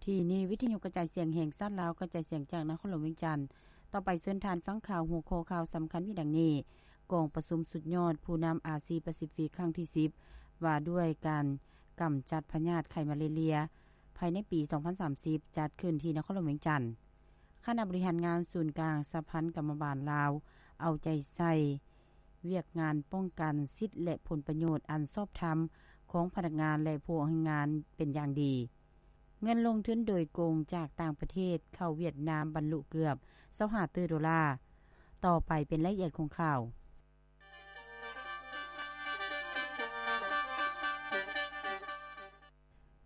ທີ່ນີ້ ວິທະຍຸກະຈາຍສຽງແຫ່ງຊາດລາວ ກະຈາຍສຽງຈາກນະຄອນຫຼວງວຽງຈັນ. ຕໍ່ໄປເຊີນທ່ານຟັງຂ່າວ ຫົວຂໍ້ຂ່າວສຳຄັນມີດັ່ງນີ້: ກອງປະຊຸມສຸດຍອດຜູ້ນຳອາຊີປາຊີຟິກຄັ້ງທີສິບ ວ່າດ້ວຍການກຳຈັດພະຍາດໄຂ້ມາເລເລຍພາຍໃນປີສອງພັນສາມສິບ ຈັດຂຶ້ນທີ່ນະຄອນຫຼວງວຽງຈັນ. ຄະນະບໍລິຫານງານສູນກາງສະຫະພັນກຳມະບານລາວ ເອົາໃຈໃສ່ວຽກງານປ້ອງກັນສິດ ແລະ ຜົນປະໂຫຍດອັນຊອບທຳຂອງພະນັກງານ ແລະ ຜູ້ອອກແຮງງານເປັນຢ່າງດີ. ເງິນລົງທຶນໂດຍກົງຈາກຕ່າງປະເທດເຂົ້າຫວຽດນາມບັນລຸເກືອບຊາວຫ້າຕື້ໂດລາ. ຕໍ່ໄປເປັນລາຍລະອຽດຂອງຂ່າວ.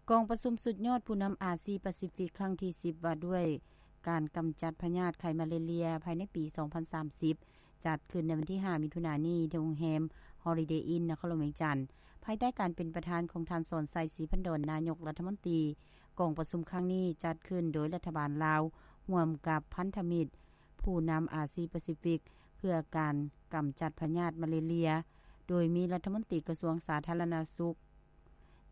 ກອງປະຊຸມສຸດຍອດຜູ້ນຳອາຊີປາຊີຟິກຄັ້ງທີສິບ ວ່າດ້ວຍການກຳຈັດພະຍາດໄຂ້ມາເລເລຍພາຍໃນປີສອງພັນສາມສິບ ຈັດຂຶ້ນໃນວັນທີຫ້າ ມິຖຸນານີ້ ທີ່ໂຮງແຮມ Holiday Inn ນະຄອນຫຼວງວຽງຈັນ ພາຍໃຕ້ການເປັນປະທານຂອງທ່ານ ສອນໄຊ ສີພັນດອນ ນາຍົກລັດຖະມົນຕີ. ກອງປະຊຸມຄັ້ງນີ້ຈັດຂຶ້ນໂດຍລັດຖະບານລາວ ຮ່ວມກັບພັນທະມິດຜູ້ນຳອາຊີປາຊີຟິກ ເພື່ອການກຳຈັດພະຍາດມາເລເລຍ ໂດຍມີລັດຖະມົນຕີກະຊວງສາທາລະນະສຸກ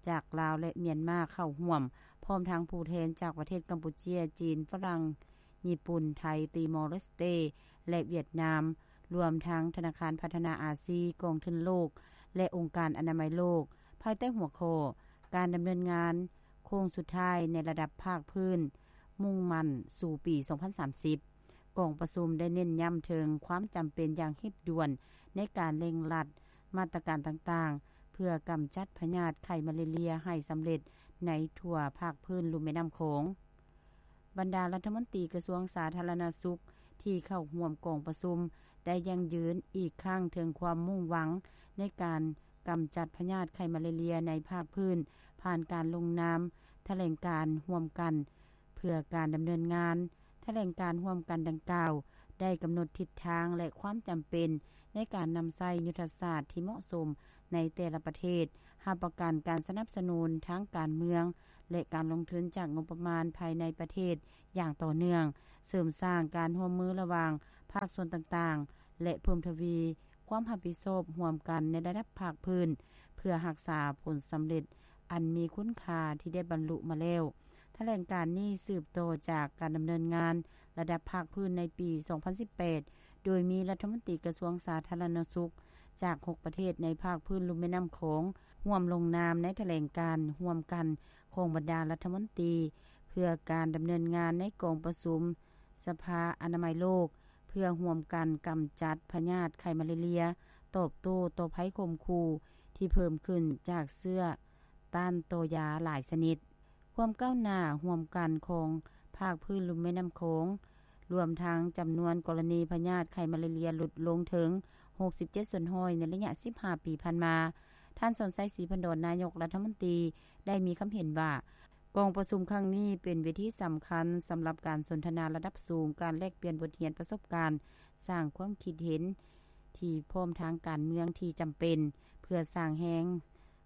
ຈາກລາວ ແລະ ມຽນມາເຂົ້າຮ່ວມ, ພ້ອມທັງຜູ້ແທນຈາກປະເທດກຳປູເຈຍ, ຈີນ, ຝຣັ່ງ, ຍີ່ປຸ່ນ, ໄທ, ຕີມໍເລສເຕ ແລະ ຫວຽດນາມ, ລວມທັງທະນາຄານພັດທະນາອາຊີ, ກອງທຶນໂລກ ແລະ ອົງການອະນາໄມໂລກ, ພາຍໃຕ້ຫົວຂໍ້ ການດຳເນີນງານໂຄ້ງສຸດທ້າຍໃນລະດັບພາກພື້ນ ມຸ່ງໝັ້ນສູ່ປີສອງພັນສາມສິບ. ກອງປະຊຸມໄດ້ເນັ້ນຢ້ຳເຖິງຄວາມຈຳເປັນຢ່າງຮີບດ່ວນໃນການເລັ່ງລັດມາດຕະການຕ່າງໆ ເພື່ອກຳຈັດພະຍາດໄຂ້ມາເລເລຍໃຫ້ສຳເລັດໃນທົ່ວພາກພື້ນລຸ່ມແມ່ນ້ຳຂອງ. ບັນດາລັດຖະມົນຕີກະຊວງສາທາລະນະສຸກທີ່ເຂົ້າຮ່ວມກອງປະຊຸມ ໄດ້ຢັ້ງຢືນອີກຄັ້ງເຖິງຄວາມມຸ່ງຫວັງໃນການກຳຈັດພະຍາດໄຂ້ມາເລເລຍໃນພາກພື້ນ ຜ່ານການລົງນາມຖະແຫຼງການຮ່ວມກັນ ເພື່ອການດຳເນີນງານ. ຖະແຫຼງການຮ່ວມກັນດັ່ງກ່າວ ໄດ້ກຳນົດທິດທາງ ແລະ ຄວາມຈຳເປັນໃນການນຳໃຊ້ຍຸດທະສາດທີ່ເໝາະສົມໃນແຕ່ລະປະເທດ, ຮັບປະກັນການສະໜັບສະໜູນທາງການເມືອງ ແລະ ການລົງທຶນຈາກງົບປະມານພາຍໃນປະເທດຢ່າງຕໍ່ເນື່ອງ, ເສີມສ້າງການຮ່ວມມືລະຫວ່າງພາກສ່ວນຕ່າງໆ ແລະ ເພີ່ມທະວີຄວາມຮັບຜິດຊອບຮ່ວມກັນໃນລະດັບພາກພື້ນ ເພື່ອຮັກສາຜົນສຳເລັດອັນມີຄຸນຄ່າທີ່ໄດ້ບັນລຸມາແລ້ວ. ຖະແຫຼງການນີ້ສືບຕໍ່ຈາກການດຳເນີນງານລະດັບພາກພື້ນໃນປີສອງພັນສິບແປດ ໂດຍມີລັດຖະມົນຕີກະຊວງສາທາລະນະສຸກຈາກຫົກປະເທດໃນພາກພື້ນລຸ່ມແມ່ນ້ຳຂອງ ຮ່ວມລົງນາມໃນຖະແຫຼງການຮ່ວມກັນຂອງບັນດາລັດຖະມົນຕີ ເພື່ອການດຳເນີນງານໃນກອງປະຊຸມສະພາອະນາໄມໂລກ ເພື່ອຮ່ວມກັນກຳຈັດພະຍາດໄຂ້ມາເລເລຍ, ຕອບໂຕ້ຕໍ່ໄພຂົ່ມຂູ່ທີ່ເພີ່ມຂຶ້ນຈາກເຊື້ອຕ້ານຕໍ່ຢາຫຼາຍຊະນິດ. ຄວາມກ້າວໜ້າຮ່ວມກັນຂອງພາກພື້ນລຸ່ມແມ່ນ້ຳຂອງ ລວມທັງຈຳນວນກໍລະນີພະຍາດໄຂ້ມາເລເລຍຫຼຸດລົງເຖິງຫົກສິບເຈັດສ່ວນຮ້ອຍໃນໄລຍະສິບຫ້າປີຜ່ານມາ. ທ່ານ ສອນໄຊ ສີພັນດອນ ນາຍົກລັດຖະມົນຕີ ໄດ້ມີຄຳເຫັນວ່າ ກອງປະຊຸມຄັ້ງນີ້ເປັນເວທີສຳຄັນສຳລັບການສົນທະນາລະດັບສູງ, ການແລກປ່ຽນບົດຮຽນປະສົບການ, ສ້າງຄວາມຄິດເຫັນທີ່ພ້ອມທາງການເມືອງທີ່ຈຳເປັນ ເພື່ອສ້າງແຮງ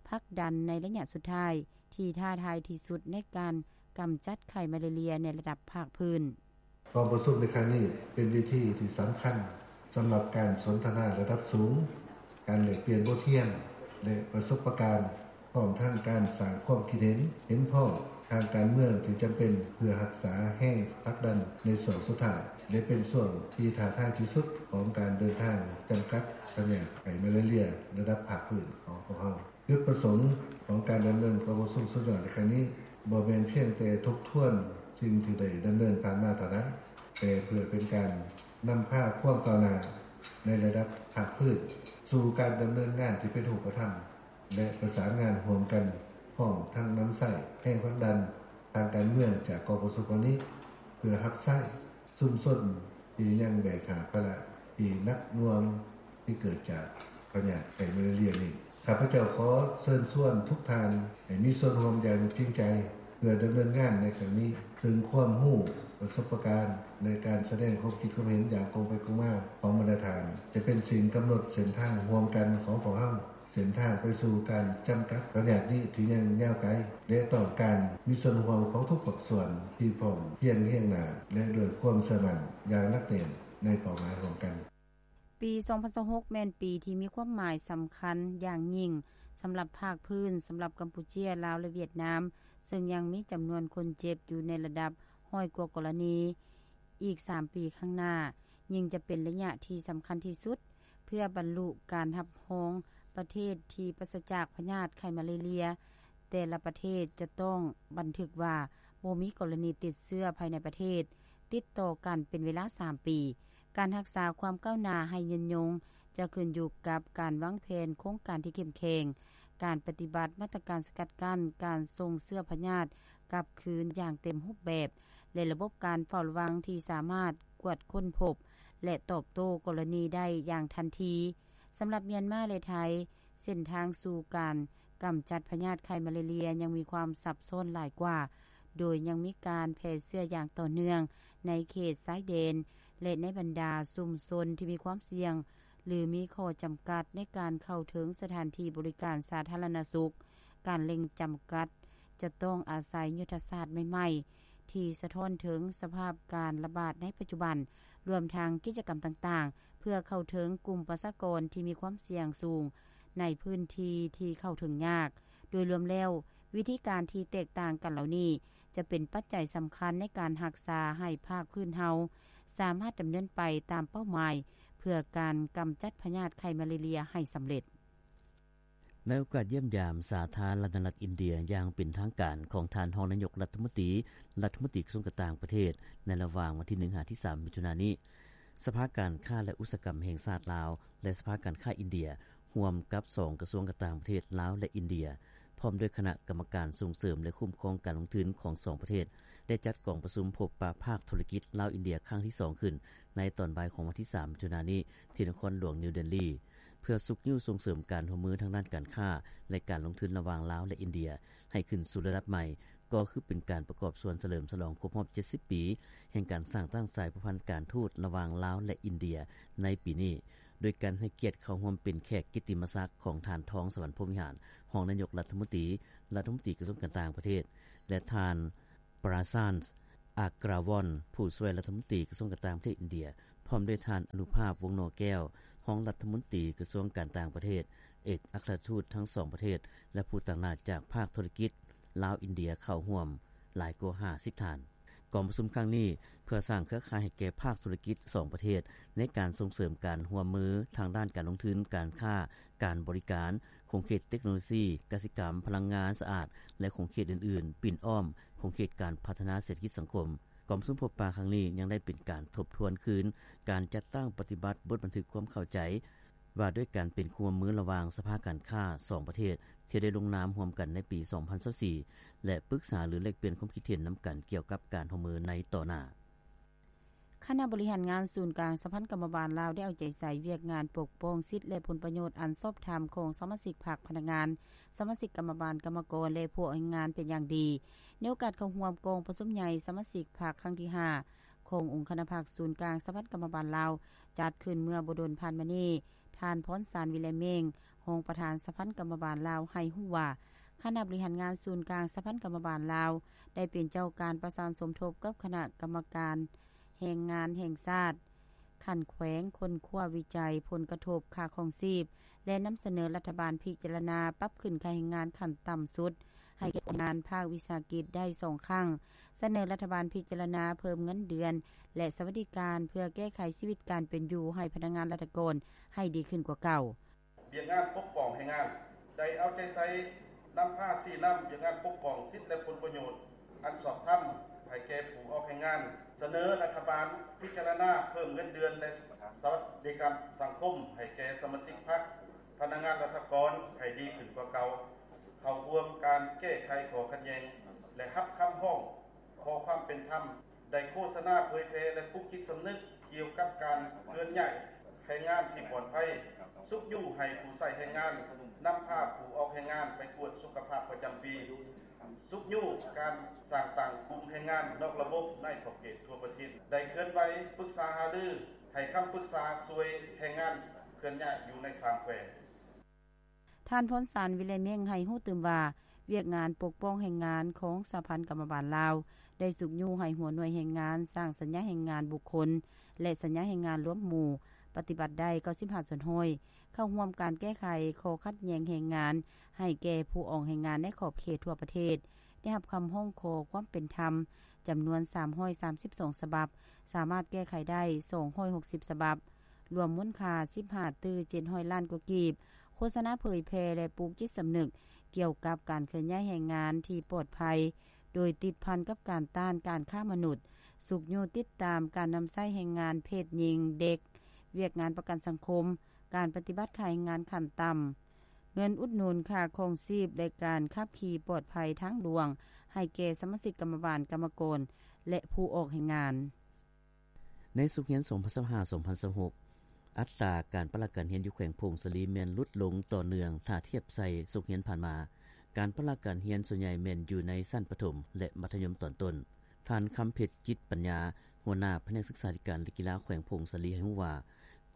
ຜັກດັນໃນໄລຍະສຸດທ້າຍ ທີ່ທ້າທາຍທີ່ສຸດໃນການກຳຈັດໄຂ້ມາເລເລຍໃນລະດັບພາກພື້ນ. ກອງປະຊຸມໃນຄັ້ງນີ້ເປັນເວທີທີ່ສຳຄັນສຳລັບການສົນທະນາລະດັບສູງ, ການແລກປ່ຽນບົດຮຽນ ແລະ ປະສົບປະການ, ພ້ອມທັງການສ້າງຄວາມຄິດເຫັນເຫັນພ້ອມທາງການເມືອງທີ່ຈຳເປັນ ເພື່ອຮັກສາແຮງຜັກດັນໃນຊ່ວງສຸດທ້າຍ ແລະ ເປັນຊ່ວງທີ່ທ້າທາຍທີ່ສຸດຂອງການເດີນທາງຈຳກັດພະຍາດໄຂ້ມາເລເລຍລະດັບພາກພື້ນຂອງພວກເຮົາ. ຈຸດປະສົງຂອງການດຳເນີນກອງປະຊຸມສຸດຍອດໃນຄັ້ງນີ້ ບໍ່ແມ່ນພຽງແຕ່ທົບທວນສິ່ງທີ່ໄດ້ດຳເນີນຜ່ານມາເທົ່ານັ້ນ, ແຕ່ເພື່ອເປັນການນຳພາຄວາມກ້າວໜ້າໃນລະດັບພາກພື້ນ ສູ່ການດຳເນີນງານທີ່ເປັນຮູບປະທຳ ແລະ ປະສານງານຮ່ວມກັນ, ພ້ອມທັງນຳໃຊ້ແຮງຜັກດັນທາງການເມືອງຈາກກອງປະຊຸມຄັ້ງນີ້ ເພື່ອຮັບໃຊ້ ຊຸມຊົນທີ່ຍັງແບກຫາບພາລະທີ່ໜັກໜ່ວງທີ່ເກີດຈາກພະຍາດໄຂ້ມາເລເລຍນີ້. ຂ້າພະເຈົ້າຂໍເຊີນຊວນທຸກທ່ານໃຫ້ມີສ່ວນຮ່ວມຢ່າງຈິງໃຈ ເພື່ອດຳເນີນງານໃນຄັ້ງນີ້, ເຊິ່ງຄວາມຮູ້, ປະສົບປະການ ແລະ ການສະແດງຄວາມຄິດຄວາມເຫັນຢ່າງກົງໄປກົງມາຂອງບັນດາທ່ານ ຈະເປັນສິ່ງກຳນົດເສັ້ນທາງຮ່ວມກັນຂອງພວກເຮົາ. ເສັ້ນທາງໄປສູ່ການຈຳກັດພະຍາດນີ້ທີ່ຍັງຍາວໄກ ແລະ ຕ້ອງການມີສ່ວນຮ່ວມຂອງທຸກພາກສ່ວນທີ່ພ້ອມພຽງຮຽງໜ້າ ແລະ ດ້ວຍຄວາມເຊື່ອໝັ້ນຢ່າງໜັກແໜ້ນໃນເປົ້າໝາຍຮ່ວມກັນ. ປີສອງພັນຊາວຫົກ ແມ່ນປີທີ່ມີຄວາມໝາຍສຳຄັນຢ່າງຍິ່ງ ສຳລັບພາກພື້ນ ສຳລັບກຳປູເຈຍ, ລາວ ແລະ ຫວຽດນາມ, ເຊິ່ງຍັງມີຈຳນວນຄົນເຈັບຢູ່ໃນລະດັບຮ້ອຍກວ່າກໍລະນີ. ອີກສາມປີຂ້າງໜ້າ, ຍິ່ງຈະເປັນໄລຍະທີ່ສຳຄັນທີ່ສຸດ ເພື່ອບັນລຸການຮັບຮອງປະເທດທີ່ປາສະຈາກພະຍາດໄຂ້ມາເລເລຍ. ແຕ່ລະປະເທດຈະຕ້ອງບັນທຶກວ່າບໍ່ມີກໍລະນີຕິດເຊື້ອພາຍໃນປະເທດຕິດຕໍ່ກັນເປັນເວລາສາມປີ. ການຮັກສາຄວາມກ້າວໜ້າໃຫ້ຍືນຍົງ ຈະຂຶ້ນຢູ່ກັບການວາງແຜນໂຄງການທີ່ເຂັ້ມແຂງ, ການປະຕິບັດມາດຕະການສະກັດກັ້ນການສົ່ງເຊື້ອພະຍາດກັບຄືນຢ່າງເຕັມຮູບແບບ ແລະ ລະບົບການເຝົ້າລະວັງທີ່ສາມາດກວດຄົ້ນພົບ ແລະ ຕອບໂຕ້ກໍລະນີໄດ້ຢ່າງທັນທີ. ສຳລັບມຽນມາ ແລະ ໄທ, ເສັ້ນທາງສູ່ການກຳຈັດພະຍາດໄຂ້ມາເລເລຍຍັງມີຄວາມຊັບຊ້ອນຫຼາຍກວ່າ, ໂດຍຍັງມີການແຜ່ເຊື້ອຢ່າງຕໍ່ເນື່ອງໃນເຂດຊາຍແດນ ແລະ ໃນບັນດາຊຸມຊົນທີ່ມີຄວາມສ່ຽງ ຫຼື ມີຂໍ້ຈຳກັດໃນການເຂົ້າເຖິງສະຖານທີ່ບໍລິການສາທາລະນະສຸກ. ການເລັ່ງຈຳກັດຈະຕ້ອງອາໄສຍຸດທະສາດໃໝ່ໆ ທີ່ສະທ້ອນເຖິງສະພາບການລະບາດໃນປັດຈຸບັນ, ລວມທັງກິດຈະກຳຕ່າງໆ ເພື່ອເຂົ້າເຖິງກຸ່ມປະຊາກອນທີ່ມີຄວາມສ່ຽງສູງໃນພື້ນທີ່ທີ່ເຂົ້າເຖິງຍາກ. ໂດຍລວມແລ້ວ, ວິທີການທີ່ແຕກຕ່າງກັນເຫຼົ່ານີ້ ຈະເປັນປັດໄຈສຳຄັນໃນການຮັກສາໃຫ້ພາກພື້ນເຮົາສາມາດດຳເນີນໄປຕາມເປົ້າໝາຍ ເພື່ອການກຳຈັດພະຍາດໄຂ້ມາເລເລຍໃຫ້ສຳເລັດ. ໃນໂອກາດຢ້ຽມຢາມສາທາລະນະລັດອິນເດຍຢ່າງເປັນທາງການຂອງທ່ານຮອງນາຍົກລັດຖະມົນຕີ, ລັດຖະມົນຕີກະຊວງການຕ່າງປະເທດ ໃນລະຫວ່າງວັນທີໜຶ່ງຫາທີສາມມິຖຸນານີ້, ສະພາການຄ້າ ແລະ ອຸດສາຫະກຳແຫ່ງຊາດລາວ ແລະ ສະພາການຄ້າອິນເດຍ ຮ່ວມກັບສອງກະຊວງການຕ່າງປະເທດລາວ ແລະ ອິນເດຍ, ພ້ອມດ້ວຍຄະນະກຳມະການສົ່ງເສີມ ແລະ ຄຸ້ມຄອງການລົງທຶນຂອງສອງປະເທດ ໄດ້ຈັດກອງປະຊຸມພົບປະພາກທຸລະກິດລາວ-ອິນເດຍຄັ້ງທີສອງຂຶ້ນ ໃນຕອນບ່າຍຂອງວັນທີສາມມິຖຸນານີ້ ທີ່ນະຄອນຫຼວງນິວເດລີ ເພື່ອຊຸກຍູ້ສົ່ງເສີມການຮ່ວມມືທາງດ້ານການຄ້າ ແລະ ການລົງທຶນລະຫວ່າງລາວ ແລະ ອິນເດຍ ໃຫ້ຂຶ້ນສູ່ລະດັບໃໝ່, ກໍຄືເປັນການປະກອບສ່ວນສະເຫຼີມສະຫຼອງຄົບຮອບເຈັດສິບປີ ແຫ່ງການສ້າງຕັ້ງສາຍພົວພັນການທູດລະຫວ່າງລາວ ແລະ ອິນເດຍ ໃນປີນີ້, ໂດຍການໃຫ້ກຽດເຂົ້າຮ່ວມເປັນແຂກກິດຕິມະສັກຂອງທ່ານ ທອງສະຫວັນ ພົມວິຫານ ຮອງນາຍົກລັດຖະມົນຕີ, ລັດຖະມົນຕີກະຊວງການຕ່າງປະເທດ ແລະ ທ່ານ ປຣາຊານ ອາກຣາວອນ ຜູ້ຊ່ວຍລັດຖະມົນຕີກະຊວງການຕ່າງປະເທດອິນເດຍ, ພ້ອມດ້ວຍທ່ານ ອະນຸພາບ ວົງໜໍແກ້ວ ຮອງລັດຖະມົນຕີກະຊວງການຕ່າງປະເທດ, ເອກອັກຄະລັດທູດທັງສອງປະເທດ ແລະ ຜູ້ຕາງໜ້າຈາກພາກທຸລະກິດລາວ-ອິນເດຍເຂົ້າຮ່ວມຫຼາຍກວ່າຫ້າສິບທ່ານ. ກອງປະຊຸມຄັ້ງນີ້ ເພື່ອສ້າງເຄືອຂ່າຍໃຫ້ແກ່ພາກທຸລະກິດສອງປະເທດ ໃນການສົ່ງເສີມການຮ່ວມມືທາງດ້ານການລົງທຶນ, ການຄ້າ, ການບໍລິການ, ຂົງເຂດເຕັກໂນໂລຊີ, ກະສິກຳ, ພະລັງງານສະອາດ ແລະ ຂົງເຂດອື່ນໆ ປິ່ນອ້ອມຂົງເຂດການພັດທະນາເສດຖະກິດສັງຄົມ. ກອງປະຊຸມພົບປະຄັ້ງນີ້ຍັງໄດ້ເປັນການທົບທວນຄືນການຈັດຕັ້ງປະຕິບັດບົດບັນທຶກຄວາມເຂົ້າໃຈ ວ່າດ້ວຍການເປັນຄູ່ຮ່ວມມືລະຫວ່າງສະພາການຄ້າສອງປະເທດ ທີ່ໄດ້ລົງນາມຮ່ວມກັນໃນປີສອງພັນຊາວສີ່ ແລະ ປຶກສາຫຼືແລກປ່ຽນຄວາມຄິດເຫັນນຳກັນກ່ຽວກັບການຮ່ວມມືໃນຕໍ່ໜ້າ. ຄະນະບໍລິຫານງານສູນກາງສະຫະພັນກຳມະບານລາວ ໄດ້ເອົາໃຈໃສ່ວຽກງານປົກປ້ອງສິດ ແລະ ຜົນປະໂຫຍດອັນຊອບທຳຂອງສະມາຊິກພັກ, ພະນັກງານ, ສະມາຊິກກຳມະບານ, ກຳມະກອນ ແລະ ຜູ້ອອກແຮງງານເປັນຢ່າງດີ. ໃນໂອກາດເຂົ້າຮ່ວມກອງປະຊຸມໃຫຍ່ສະມາຊິກພັກຄັ້ງທີຫ້າ ຂອງອົງຄະນະພັກສູນກາງສະຫະພັນກຳມະບານລາວ ຈັດຂຶ້ນເມື່ອບໍ່ດົນຜ່ານມານີ້, ທ່ານ ພອນສານ ວິໄລເມັງ ຮອງປະທານສະຫະພັນກຳມະບານລາວ ໃຫ້ຮູ້ວ່າ ຄະນະບໍລິຫານງານສູນກາງສະຫະພັນກຳມະບານລາວ ໄດ້ເປັນເຈົ້າການປະສານສົມທົບກັບຄະນະກຳມະການແຮງງານແຫ່ງຊາດ ຂັ້ນແຂວງ ຄົ້ນຄວ້າວິໄຈຜົນກະທົບຄ່າຄອງຊີບ ແລະ ນຳສະເໜີລັດຖະບານພິຈາລະນາປັບຂຶ້ນຄ່າແຮງງານຂັ້ນຕ່ຳສຸດ ໃຫ້ແກ່ຄົນງານພາກວິສາຫະກິດໄດ້ສອງຄັ້ງ, ສະເໜີລັດຖະບານພິຈາລະນາເພີ່ມເງິນເດືອນ ແລະ ສະຫວັດດີການ ເພື່ອແກ້ໄຂຊີວິດການເປັນຢູ່ໃຫ້ພະນັກງານລັດຖະກອນໃຫ້ດີຂຶ້ນກວ່າເກົ່າ. ວຽກງານປົກປ້ອງແຮງງານໄດ້ເອົາໃຈໃສ່ນຳພາຊີ້ນຳວຽກງານປົກປ້ອງສິດ ແລະ ຜົນປະໂຫຍດອັນຊອບທຳໃຫ້ແກ່ຜູ້ອອກແຮງງານ, ສະເໜີລັດຖະບານພິຈາລະນາເພີ່ມເງິນເດືອນ ແລະ ສະຫວັດດີການສັງຄົມໃຫ້ແກ່ສະມາຊິກພັກ, ພະນັກງານລັດຖະກອນໃຫ້ດີຂຶ້ນກວ່າເກົ່າ, ເຂົ້າຮ່ວມການແກ້ໄຂຂໍ້ຂັດແຍ່ງ ແລະ ຮັບຄຳຮ້ອງຂໍຄວາມເປັນທຳ, ໄດ້ໂຄສະນາເຜີຍແຜ່ ແລະ ປຸກຈິດສຳນຶກກ່ຽວກັບການເຄື່ອນຍ້າຍແຮງງານທີ່ປອດໄພ, ຊຸກຍູ້ໃຫ້ຜູ້ໃຊ້ແຮງງານນຳພາຜູ້ອອກແຮງງານໄປກວດສຸຂະພາບປະຈຳປີ, ຊຸກຍູ້ການສ້າງຕັ້ງກຸ່ມແຮງງານນອກລະບົບໃນຂອບເຂດທົ່ວປະເທດ, ໄດ້ເຄື່ອນໄຫວປຶກສາຫາລືໃຫ້ຄຳປຶກສາຊ່ວຍແຮງງານເຄື່ອນຍ້າຍຢູ່ໃນສາມແຂວງ. ທ່ານ ພອນສານ ວິໄລເມັງ ໃຫ້ຮູ້ຕື່ມວ່າ ວຽກງານປົກປ້ອງແຮງງານຂອງສະຫະພັນກຳມະບານລາວ ໄດ້ຊຸກຍູ້ໃຫ້ຫົວໜ່ວຍແຮງງານສ້າງສັນຍາແຮງງານບຸກຄົນ ແລະ ສັນຍາແຮງງານລວມໝູ່ ປະຕິບັດໄດ້ເກົ້າສິບຫ້າສ່ວນຮ້ອຍ, ເຂົ້າຮ່ວມການແກ້ໄຂຂໍ້ຂັດແຍ່ງແຮງງານ ໃຫ້ແກ່ຜູ້ອອກແຮງງານໃນຂອບເຂດທົ່ວປະເທດ ໄດ້ຮັບຄຳຮ້ອງຂໍຄວາມເປັນທຳ ຈຳນວນສາມຮ້ອຍສາມສິບສອງສະບັບ, ສາມາດແກ້ໄຂໄດ້ສອງຮ້ອຍຫົກສິບສະບັບ, ລວມມູນຄ່າສິບຫ້າຕື້ເຈັດຮ້ອຍລ້ານກວ່າກີບ. ໂຄສະນາເຜີຍແຜ່ ແລະ ປູກຈິດສຳນຶກກ່ຽວກັບການເຄື່ອນຍ້າຍແຮງງານທີ່ປອດໄພ ໂດຍຕິດພັນກັບການຕ້ານການຄ້າມະນຸດ, ຊຸກຍູ້ຕິດຕາມການນຳໃຊ້ແຮງງານເພດຍິງ, ເດັກ, ວຽກງານປະກັນສັງຄົມ, ການປະຕິບັດຄ່າແຮງງານຂັ້ນຕ່ຳ, ເງິນອຸດໜູນຄ່າຄອງຊີບ ແລະ ການຂັບຂີ່ປອດໄພທາງຫຼວງ ໃຫ້ແກ່ສະມາຊິກກຳມະບານ, ກຳມະກອນ ແລະ ຜູ້ອອກແຮງງານ. ໃນສົກຮຽນສອງພັນຊາວຫ້າ ສອງພັນຊາວຫົກ ອັດຕາການປະລະການຮຽນຢູ່ແຂວງຜົ້ງສາລີແມ່ນຫຼຸດລົງຕໍ່ເນື່ອງ ຖ້າທຽບໃສ່ສົກຮຽນຜ່ານມາ. ການປະລະການຮຽນສ່ວນໃຫຍ່ແມ່ນຢູ່ໃນຊັ້ນປະຖົມ ແລະ ມັດທະຍົມຕອນຕົ້ນ. ທ່ານ ຄຳເພັດ ຈິດປັນຍາ ຫົວໜ້າພະແນກສຶກສາທິການ ແລະ ກິລາແຂວງຜົ້ງສາລີ ໃຫ້ຮູ້ວ່າ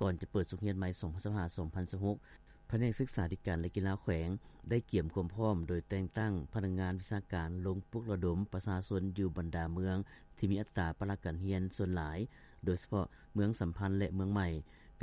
ກ່ອນຈະເປີດສົກຮຽນໃໝ່ ສອງພັນຊາວຫ້າ ສອງພັນຊາວຫົກ ພະແນກສຶກສາທິການ ແລະ ກິລາແຂວງ ໄດ້ກຽມຄວາມພ້ອມໂດຍແຕ່ງຕັ້ງພະນັກງານວິຊາການລົງປຸກລະດົມປະຊາຊົນຢູ່ບັນດາເມືອງທີ່ມີອັດຕາປະລະການຮຽນສ່ວນຫຼາຍ, ໂດຍສະເພາະເມືອງສຳພັນ ແລະ ເມືອງໃໝ່.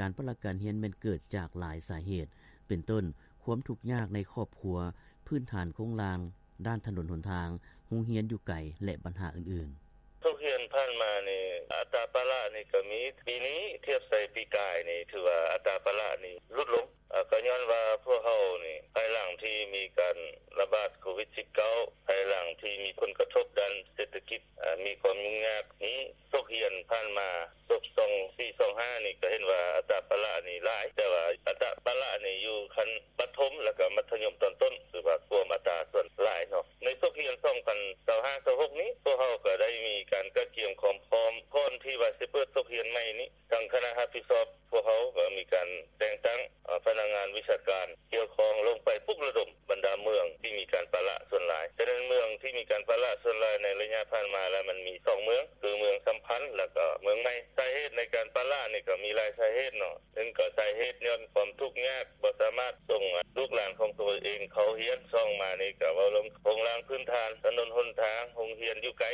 ການປະລະການຮຽນແມ່ນເກີດຈາກຫຼາຍສາເຫດ ເປັນຕົ້ນ ຄວາມທຸກຍາກໃນຄອບຄົວ, ພື້ນຖານໂຄງລ່າງດ້ານຖະໜົນຫົນທາງ, ໂຮງຮຽນຢູ່ໄກ ແລະ ບັນຫາອື່ນໆ. ສົກຮຽນຜ່ານມານີ້ ອັດຕາປະລະນີ້ກໍມີ, ປີນີ້ທຽບໃສ່ປີກາຍນີ້ ຖືວ່າອັດຕາປະລະນີ້ຫຼຸດລົງ. ເອີ່ ກໍຍ້ອນວ່າພວກເຮົານີ້ ພາຍຫຼັງທີ່ມີການລະບາດໂຄວິດສິບເກົ້າ ພາຍຫຼັງທີ່ມີຜົນກະທົບດ້ານເສດຖະກິດ ເອີ່ ມີຄວາມຫຍຸ້ງຍາກນີ້ ສົກຮຽນຜ່ານມາ ສົກສອງສີ່ສອງຫ້ານີ້ ກໍເຫັນວ່າອັດຕາປະລະນີ້ຫຼາຍ, ແຕ່ວ່າອັດຕາປະລະນີ້ຢູ່ຂັ້ນປະຖົມ ແລ້ວກໍມັດທະຍົມຕອນຕົ້ນ ຖືວ່າກວມອັດຕາສ່ວນຫຼາຍເນາະ. ໃນສົກຮຽນສອງພັນຊາວຫ້າ ຊາວຫົກນີ້ ພວກເຮົາກໍໄດ້ມີການກະກຽມຄວາມພ້ອມ ກ່ອນທີ່ວ່າຊິເປີດສົກຮຽນໃໝ່ນີ້ ທາງຄະນະຮັບຜິດຊອບ ພວກເຮົາກໍມີການແຕ່ງຕັ້ງ ເອີ່ ພະນັກງານວິຊາການກ່ຽວຂ້ອງລົງໄປປຸກລະດົມບັນດາເມືອງທີ່ມີການປະລະສ່ວນຫຼາຍ. ສະນັ້ນ ເມືອງທີ່ມີການປະລະສ່ວນຫຼາຍໃນໄລຍະຜ່ານມາລະ ມັນມີສອງເມືອງ ຄືເມືອງສຳພັນ ແລ້ວກໍເມືອງໃໝ່. ສາເຫດໃນການປະລະນີ້ກໍມີຫຼາຍສາເຫດເນາະ. ໜຶ່ງກໍສາເຫດຍ້ອນຄວາມທຸກຍາກ ບໍ່ສາມາດສົ່ງລູກຫຼານຂອງຕົວເອງເຂົ້າຮຽນ. ສອງມານີ້ກໍເວົ້າເລື່ອງໂຄງລ່າງພື້ນຖານ, ຖະໜົນຫົນທາງ, ໂຮງຮຽນຢູ່ໄກ.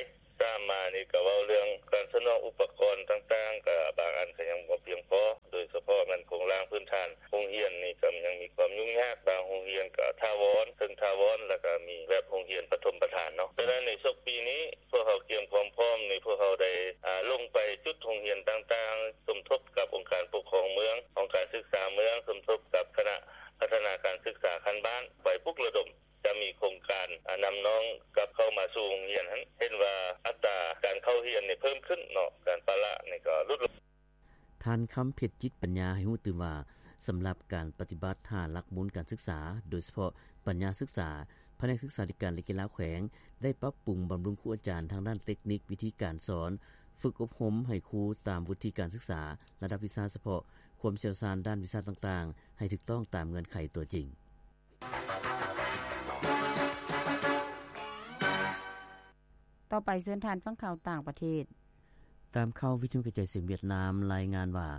ສາມມານີ້ກໍເວົ້າເລື່ອງການສະໜອງອຸປະກອນຕ່າງໆ ກໍບາງອັນກໍຍັງບໍ່ພຽງພໍ, ໂດຍສະເພາະແມ່ນໂຄງລ່າງພື້ນຖານໂຮງຮຽນນີ້ກໍຍັງມີຄວາມຫຍຸ້ງຍາກ. ບາງໂຮງຮຽນກໍຖາວອນ, ເຊິ່ງຖາວອນ ແລ້ວກໍມີແບບໂຮງຮຽນປະຖົມປະຖານເນາະ. ສະນັ້ນ ໃນສົກປີນີ້ ພວກເຮົາກຽມຄວາມພ້ອມນີ້ ພວກເຮົາໄດ້ ອາ ລົງໄປຈຸດໂຮງຮຽນຕ່າງໆ, ສົມທົບກັບອົງການປົກຄອງເມືອງ, ຫ້ອງການສຶກສາເມືອງ, ສົມທົບກັບຄະນະພັດທະນາການສຶກສາຂັ້ນບ້ານ ໄປປຸກລະດົມ. ຈະມີໂຄງການ ອາ ນຳນ້ອງກັບເຂົ້າມາສູ່ໂຮງຮຽນຫັ້ນ. ເຫັນວ່າອັດຕາການເຂົ້າຮຽນນີ້ເພີ່ມຂຶ້ນເນາະ, ການປະລະນີ້ກໍຫຼຸດລົງ. ທ່ານ ຄຳເພັດ ຈິດປັນຍາ ໃຫ້ຮູ້ຕື່ມວ່າ ສຳລັບການປະຕິບັດຫ້າຫຼັກມູນການສຶກສາ, ໂດຍສະເພາະປັນຍາສຶກສາ, ພະແນກສຶກສາທິການ ແລະ ກິລາແຂວງ ໄດ້ປັບປຸງບຳລຸງຄູອາຈານທາງດ້ານເຕັກນິກ, ວິທີການສອນ, ຝຶກອົບຮົມໃຫ້ຄູຕາມວຸດທິການສຶກສາ, ລະດັບວິຊາສະເພາະ, ຄວາມຊ່ຽວຊານດ້ານວິຊາຕ່າງໆ ໃຫ້ຖືກຕ້ອງຕາມເງື່ອນໄຂຕົວຈິງ. ຕໍ່ໄປເຊີນທ່ານຟັງຂ່າວຕ່າງປະເທດ. ຕາມຂ່າວວິທະຍຸກະຈາຍສຽງຫວຽດນາມລາຍງານວ່າ,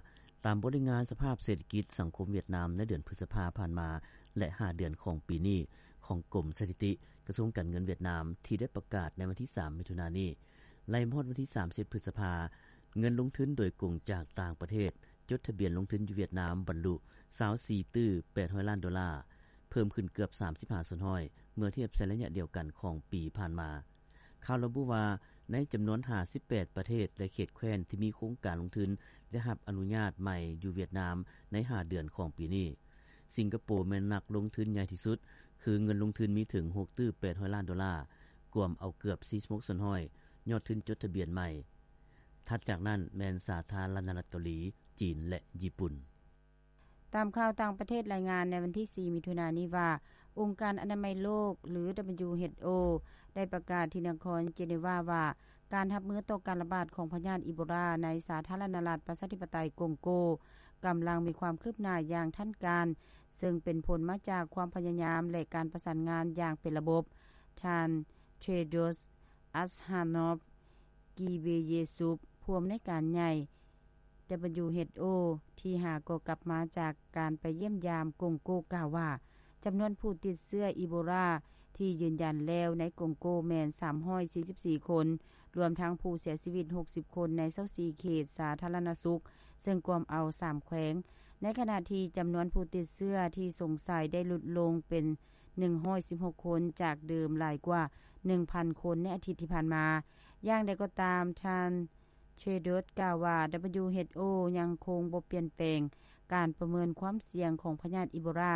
ຕາມບົດລາຍງານສະພາບເສດຖະກິດສັງຄົມຫວຽດນາມໃນເດືອນພຶດສະພາຜ່ານມາ ແລະ ຫ້າເດືອນຂອງປີນີ້ ຂອງກົມສະຖິຕິ ກະຊວງການເງິນຫວຽດນາມ ທີ່ໄດ້ປະກາດໃນວັນທີສາມ ມິຖຸນານີ້, ໄລ່ມາຮອດວັນທີສາມສິບ ພຶດສະພາ, ເງິນລົງທຶນໂດຍກົງຈາກຕ່າງປະເທດ ຈົດທະບຽນລົງທຶນຢູ່ຫວຽດນາມບັນລຸ ຊາວສີ່ຕື້ແປດຮ້ອຍລ້ານໂດລາ, ເພີ່ມຂຶ້ນເກືອບສາມສິບຫ້າສ່ວນຮ້ອຍ ເມື່ອທຽບໃສ່ໄລຍະດຽວກັນຂອງປີຜ່ານມາ. ຂ່າວລະບຸວ່າ ໃນຈຳນວນຫ້າສິບແປດປະເທດ ແລະ ເຂດແຄວ້ນທີ່ມີໂຄງການລົງທຶນໄດ້ຮັບອະນຸຍາດໃໝ່ຢູ່ຫວຽດນາມໃນຫ້າເດືອນຂອງປີນີ້, ສິງກະໂປແມ່ນນັກລົງທຶນໃຫຍ່ທີ່ສຸດ, ຄືເງິນລົງທຶນມີເຖິງຫົກຕື້ແປດຮ້ອຍລ້ານໂດລາ, ກວມເອົາເກືອບສີ່ສິບຫົກສ່ວນຮ້ອຍຍອດທຶນຈົດທະບຽນໃໝ່. ຖັດຈາກນັ້ນແມ່ນສາທາລະນະລັດເກົາຫຼີ, ຈີນ ແລະ ຍີ່ປຸ່ນ. ຕາມຂ່າວຕ່າງປະເທດລາຍງານໃນວັນທີສີ່ ມິຖຸນານີ້ວ່າ, ອົງການອະນາໄມໂລກ ຫຼື WHO ໄດ້ປະກາດທີ່ນະຄອນເຈເນວາວ່າ, ການຮັບມືຕໍ່ການລະບາດຂອງພະຍາດອີໂບລາໃນສາທາລະນະລັດປະຊາທິປະໄຕກົງໂກ ກຳລັງມີຄວາມຄືບໜ້າຢ່າງທັນການ, ເຊິ່ງເປັນຜົນມາຈາກຄວາມພະຍາຍາມ ແລະ ການປະສານງານຢ່າງເປັນລະບົບ. ທ່ານ ເທໂດຣສ໌ ອັດຮານອຟ ກີເບເຢຊຸບ ຜູ້ອຳນວຍການໃຫຍ່ WHO ທີ່ຫາກໍກັບມາຈາກການໄປຢ້ຽມຢາມກົງໂກ ກ່າວວ່າ, ຈຳນວນຜູ້ຕິດເຊື້ອອີໂບລາທີ່ຢືນຢັນແລ້ວໃນກົງໂກແມ່ນສາມຮ້ອຍສີ່ສິບສີ່ຄົນ, ລວມທັງຜູ້ເສຍຊີວິດຫົກສິບຄົນໃນຊາວສີ່ເຂດສາທາລະນະສຸກ, ເຊິ່ງກວມເອົາສາມແຂວງ ໃນຂະນະທີ່ຈຳນວນຜູ້ຕິດເຊື້ອທີ່ສົງໄສໄດ້ຫຼຸດລົງເປັນ ໜຶ່ງຮ້ອຍສິບຫົກຄົນ ຈາກເດີມຫຼາຍກວ່າ ໜຶ່ງພັນຄົນ ໃນອາທິດທີ່ຜ່ານມາ. ຢ່າງໃດກໍຕາມ, ທ່ານ Tedros ກ່າວວ່າ WHO ຍັງຄົງບໍ່ປ່ຽນແປງການປະເມີນຄວາມສ່ຽງຂອງພະຍາດອີໂບລາ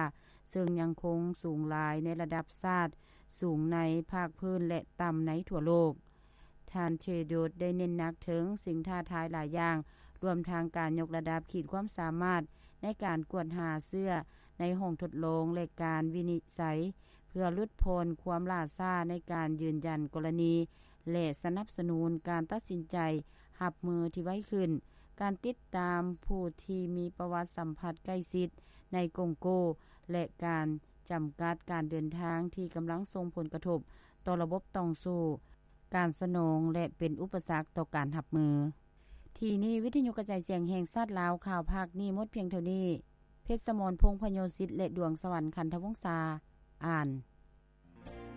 ເຊິ່ງຍັງຄົງສູງຫຼາຍໃນລະດັບຊາດ, ສູງໃນພາກພື້ນ ແລະ ຕ່ຳໃນທົ່ວໂລກ. ທ່ານ Tedros ໄດ້ເນັ້ນໜັກເຖິງສິ່ງທ້າທາຍຫຼາຍຢ່າງ, ລວມທັງການຍົກລະດັບຂີດຄວາມສາມາດໃນການກວດຫາເຊື້ອໃນຫ້ອງທົດລອງ ແລະ ການວິນິດໄສ ເພື່ອຫຼຸດຜ່ອນຄວາມຫຼ້າຊ້າໃນການຢືນຢັນກໍລະນີ ແລະ ສະໜັບສະໜູນການຕັດສິນໃຈຮັບມືທີ່ໄວຂຶ້ນ, ການຕິດຕາມຜູ້ທີ່ມີປະຫວັດສຳຜັດໃກ້ຊິດໃນກົງໂກ ແລະ ການຈຳກັດການເດີນທາງທີ່ກຳລັງສົ່ງຜົນກະທົບຕໍ່ລະບົບຕ່ອງໂສ້ການສະໜອງ ແລະ ເປັນອຸປະສັກຕໍ່ການຮັບມື. ທີ່ນີ້ ວິທະຍຸກະຈາຍສຽງແຫ່ງຊາດລາວ ຂ່າວພາກນີ້ໝົດພຽງເທົ່ານີ້. ເພັດສະໝອນ ພົງພະໂຍສິດ ແລະ ດວງສະຫວັນ ຄັນທະວົງສາ ອ່ານ.